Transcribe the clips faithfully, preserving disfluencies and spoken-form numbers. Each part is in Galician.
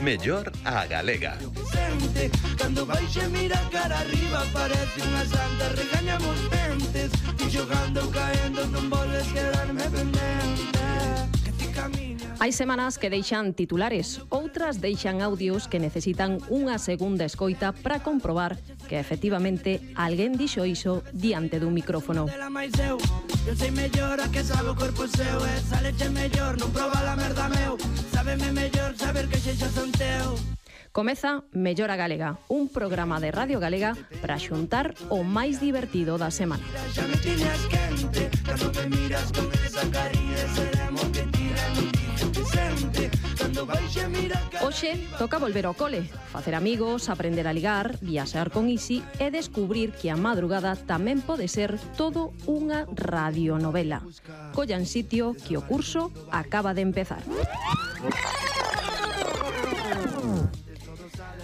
Mellor a galega. Cando baixe mira cara arriba parece unha santa, regañamos dentes e xogando caendo non volves quedarme pendente. Hai semanas que deixan titulares, outras deixan audios que necesitan unha segunda escoita para comprobar que efectivamente alguén dixo iso diante dun micrófono. Eu sei mellor a que sabe o corpo seu, e saleche mellor non proba la merda meu. Sábeme mellor saber que xeixas son teu. Comeza Mellor a Galega, un programa de Radio Galega para xuntar o máis divertido da semana. Xa me tiñas quente, cando me miras con esa carilla, seremos que tiran un tijo presente. Cando baixe mira cara... Hoxe toca volver ao cole, facer amigos, aprender a ligar, viaxar con Isi e descubrir que a madrugada tamén pode ser todo unha radionovela. Collan sitio que o curso acaba de empezar.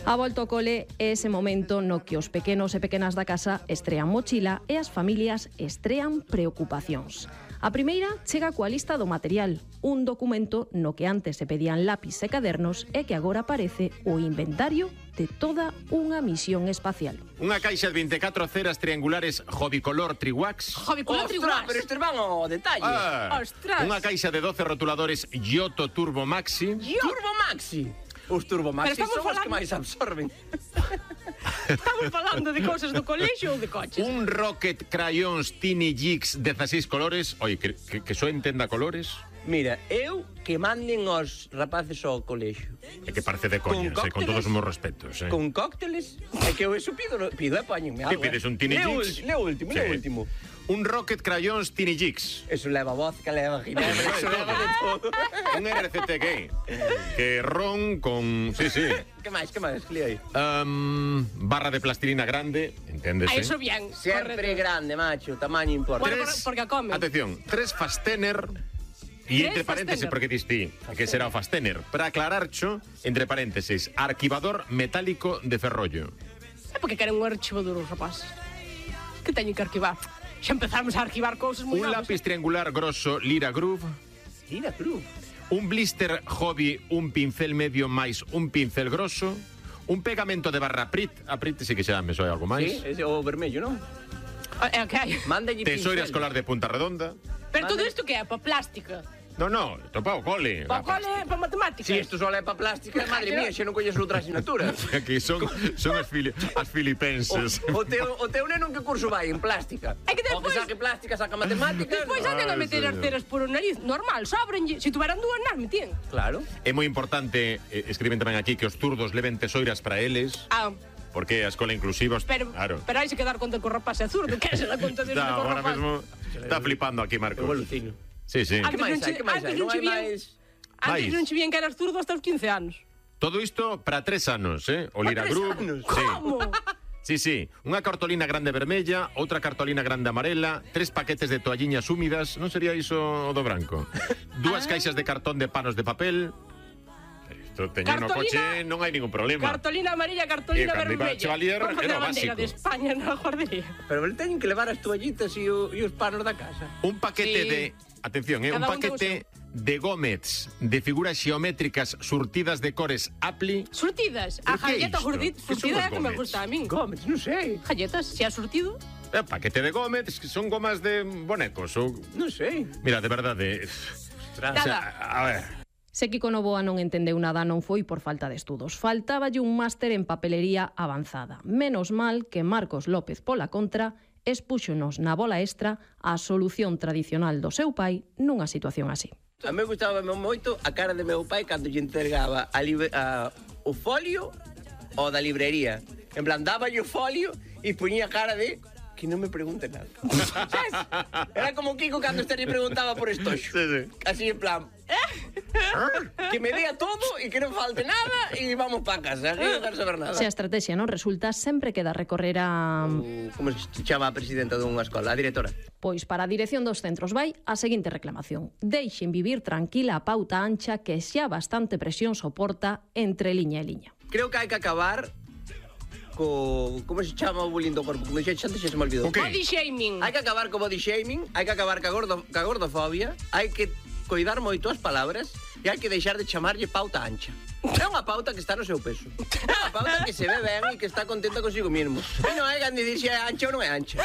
A volta ao cole é ese momento no que os pequenos e pequenas da casa estrean mochila e as familias estrean preocupacións. A primeira chega coa lista do material, un documento no que antes se pedían lápis e cadernos e que agora aparece o inventario de toda unha misión espacial. Unha caixa de veinticuatro ceras triangulares Hobbicolor Triwax. Hobbicolor Triwax. Pero estes van ao detalle. Ah, Ostras. Unha caixa de doce rotuladores Giotto Turbo Maxi. Turbo Maxi. Os Turbo Maxi son falando... os que máis absorben. Estamos falando de cousas do colexio ou de coches? Un Rocket Crayons Tiny Jigs dezasseis colores. Oi, que, que, que só entenda colores. Mira, eu que manden os rapaces ao colexio. É que parece de coña, con, con todos os meus respetos. Eh. Con cócteles. É que eu eso pido, pido e poñenme algo. Que pides un Tiny Jigs? Leo o último, leo o último. Un Rocket Crayons Tiny Jigs. Eso leva vodka, leva ginebra, eso leva de todo. Un R C T gay. Que ron con... Sí, sí. Que máis, que máis, que aí? Um, barra de plastilina grande, enténdese. A eso bien. Sempre correcto. Grande, macho, tamaño importa. Bueno, tres, porque a come. Atención, tres fastener... E entre paréntesis, porque distí que será o fastener. Para aclararcho, entre paréntesis, arquivador metálico de ferrollo. É porque queren un archivo duro, rapaz. Que teño que arquivar? Xa empezamos a arquivar cousas moi Un novas, lápiz eh? triangular grosso Lira Groove. Lira Groove. Un blister Hobby, un pincel medio máis un pincel grosso. Un pegamento de barra Prit. A Prit sí que xa me soe algo máis. Sí, ese o vermello, non? É o que hai. Mándalle pincel. Tesoira escolar de punta redonda. Pero todo isto que é? Pa plástica? No, no, isto pa o cole. Pa o cole, pa matemáticas? Si isto só é pa plástica, madre mía, xa non colles outra asignatura. Aquí son, son as, fili as filipenses. O, o, teu, o teu neno en que curso vai? En plástica. É que despois... O que saque plástica, saca matemáticas. Despois anden a meter as ceras por o nariz. Normal, sobrenlle. Se tuveran dúas, nas metían. Claro. É moi importante, eh, escriben tamén aquí, que os zurdos leven tesoiras para eles. Ah. Porque a escola inclusiva... Pero, claro. pero hai se quedar conta que o rapaz é zurdo. Que se dá conta de Está, que o ahora rapaz... mesmo está flipando aquí, Marcos. Evolucino. Sí, sí. Antes non che, antes non che vían, antes non che vían que eras zurdo hasta os quince anos. Todo isto para tres anos, eh? O Lira Group. Sí. Como? Sí, sí. Unha cartolina grande vermella, outra cartolina grande amarela, tres paquetes de toalliñas húmidas, non sería iso o do branco? Dúas ah. caixas de cartón de panos de papel. Isto teño no coche, non hai ningún problema. Cartolina amarilla, cartolina vermella. Chevalier era a básico. de España na guardería. Pero le teñen que levar as toallitas e, o, e os panos da casa. Un paquete sí. de... Atención, eh, un paquete un de gómez de figuras xeométricas surtidas de cores Apli. Surtidas? A galleta surtida é que me gusta a min. Gómez, non sei. Galletas, se ha surtido? Eh, paquete de gómez, que son gomas de bonecos ou... Non sei. Mira, de verdade... Nada. O sea, a ver... Se Kiko Novoa non entendeu nada non foi por falta de estudos. Faltáballe un máster en papelería avanzada. Menos mal que Marcos López, pola contra, expúxonos na bola extra a solución tradicional do seu pai nunha situación así. A mí gustaba moito a cara de meu pai cando lle entregaba a a, o folio o da librería. En plan, dáballe o folio e poñía cara de... que non me pregunte nada. ¿Sabes? Era como Kiko cando este lle preguntaba por estoxo. Sí, sí. Así en plan... que me dea todo e que non falte nada e vamos pa casa, que non quero saber nada. Se a estrategia non resulta, sempre queda recorrer a... O, como se chama a presidenta dunha escola, a directora? Pois para a dirección dos centros vai a seguinte reclamación. Deixen vivir tranquila a pauta ancha que xa bastante presión soporta entre liña e liña. Creo que hai que acabar co... como se chama o bullying do corpo? Como xa antes xa se me olvidou. Okay. Body shaming. Hai que acabar co body shaming, hai que acabar ca, gordo, ca gordofobia, hai que coidar moito as palabras e hai que deixar de chamarlle pauta ancha. É unha pauta que está no seu peso. É unha pauta que se ve ben e que está contenta consigo mesmo. E non hai que decidir se é ancha ou non é ancha.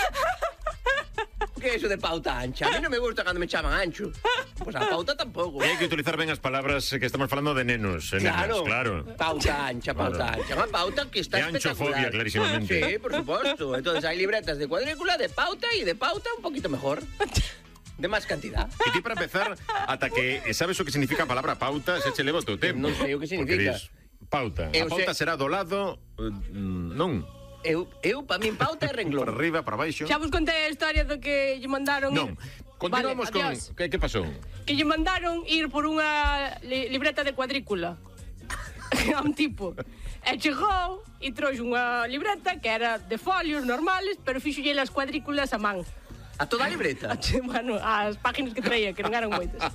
Que é iso de pauta ancha? A mí non me gusta cando me chaman ancho. Pois a pauta tampouco. E hai que utilizar ben as palabras que estamos falando de nenos. E Claro, nenas, claro. pauta ancha, pauta Claro. ancha. Unha pauta que está E anchofobia, espectacular. clarísimamente. Sí, por suposto. Entonces hai libretas de cuadrícula, de pauta e de pauta un poquito mejor. De máis cantidad. E ti para empezar, ata que sabes o que significa a palabra pauta, se che leva o teu tempo. Non sei o que Porque significa. dis, pauta. Eu A pauta sei- será do lado, mm, non, Eu, eu pa min pauta é para renglón. arriba, para baixo. Xa vos contei a historia do que lle mandaron Non. ir... Continuamos Vale, con adiós. que que pasou? Que lle mandaron ir por unha li libreta de cuadrícula a un tipo. E chegou e trouxe unha libreta que era de folios normales, pero fixolle as cuadrículas a man. A toda a libreta. Bueno, as páginas que traía, que non eran moitas.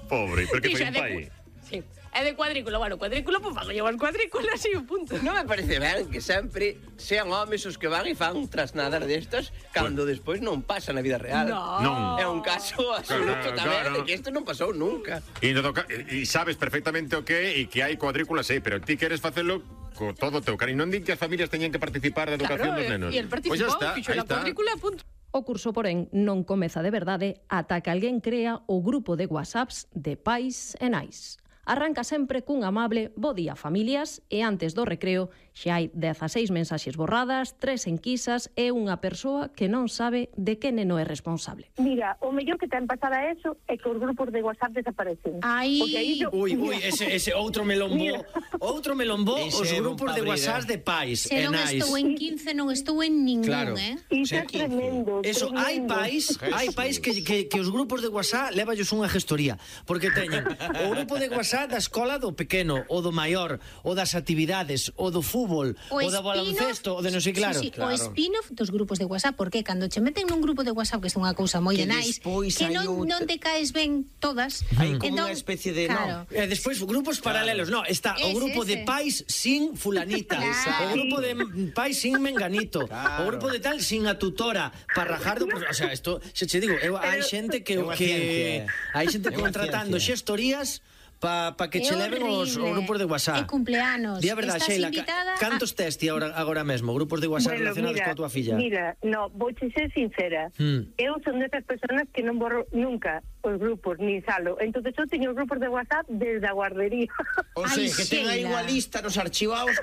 Pobre, pero que Dixo, foi un é de pai. cu- Sí. É de cuadrícula, bueno, cuadrícula, pois fago llevar cuadrículas e o punto. Non me parece ben que sempre sean homes os que van e fan trasnadas destas cando despois non pasa na vida real. No. Non. É un caso absoluto Claro, tamén claro. de que isto non pasou nunca. E, no toca, e sabes perfectamente o que é e que hai cuadrículas, sí, pero ti queres facelo co todo o teu cariño. Non din que as familias teñen que participar da educación Claro, dos nenos. e el Pois xa participou, está, fixo aí a está. cuadrícula, punto. O curso, porén, non comeza de verdade ata que alguén crea o grupo de WhatsApps de pais e nais. Arranca sempre cun amable bo día familias e antes do recreo xa hai dezaseis mensaxes borradas, tres enquisas e unha persoa que non sabe de que neno é responsable. Mira, o mellor que ten pasada eso é que os grupos de WhatsApp desaparecen. Ai. Porque aí yo- Ui, ui, ese, ese outro melombó. Mira. Outro melombó Ese os é bon grupos de padrino. WhatsApp de pais Se e non nais. estou en quince, non estou en ningún, Claro. eh? Iso Ser é quince. tremendo. Eso, hai tremendo. pais, hai pais que, que, que os grupos de WhatsApp levallos unha gestoría, porque teñen o grupo de WhatsApp da escola do pequeno, o do maior, o das actividades, o do fútbol, o, da baloncesto, o de non sei claro. Sí, sí, Claro. o spin-off dos grupos de WhatsApp, porque cando che meten nun grupo de WhatsApp que é unha cousa moi Que de nice, despois que hai non, outra- non te caes ben todas. Hai como unha especie de- claro. E despois grupos paralelos, no, está o Ese, grupo de ese. pais sin fulanita, Claro. o grupo de pais sin menganito, Claro. o grupo de tal sin a tutora para rajar do, o sea, isto se che digo, eu, hai xente que É unha que ciencia. hai xente É unha contratando ciencia. xestorías pa, pa que É che leven os, os horrible. grupos de WhatsApp. E cumpleanos. Di a verdade, Estás Sheila, invitada ca- cantos a... tes ti agora, agora mesmo, grupos de WhatsApp Bueno, relacionados mira, coa tua filla? Mira, no, vouche ser sincera. Hmm. Eu son desas personas que non borro nunca os grupos, ni salo. Entonces eu teño os grupos de WhatsApp desde a guardería. O Ai, sea, que ten aí Sheila. unha lista nos archivados